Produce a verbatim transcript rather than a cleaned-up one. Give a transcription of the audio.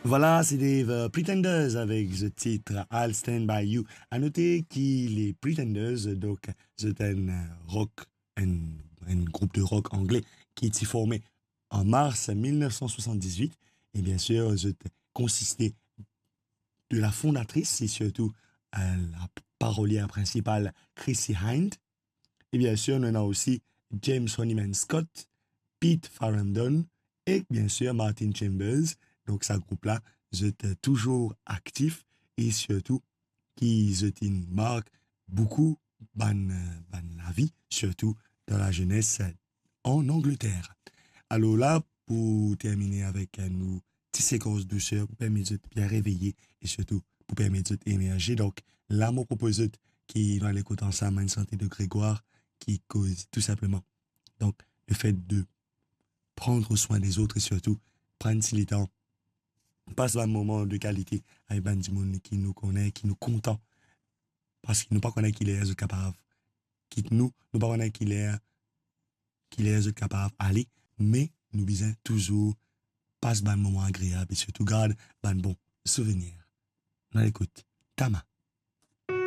Voilà, se te, euh, Pretenders avek zot tit I'll Stand By You. A note ki les Pretenders, donk, zot enn, euh, rock, enn, enn group de rock angle ki ti forme an mars mil nef san swasann-diz-wit. E bien sir, zot konsiste de la fondatris e sirtou, euh, la parolière principale, Chrissie Hynde. E bien sir, nou ena osi James Honeyman Scott, Pete Farrandon e bien sir Martin Chambers. Donk sa group la, zot, euh, touzour aktif e sirtou ki zot inn mark boukou bann, euh, bann lavi, sirtou dan lazenes, euh, an Angleter. Alor la, pou termine avek, euh, nou ti sekans douser pou permet zot bien reveye e sirtou pou permet zot emerze. Donk la, mo propoz zot ki nou al ekout ansam enn sante de Grégoire ki koz tou sinpleman, donk, le fait de prendre soin des autres e sirtou pran ti letan pas bann moman de kalite avek bann dimoun ki nou kone, ki nou kontan. Parski nou pa kone ki ler zot kapav kit nou, nou pa kone ki ler, ki ler zot kapav ale, me nou bizin touzour pas bann moman agreab e sirtou gard bann bon souvenir. Nou al ekout Tama.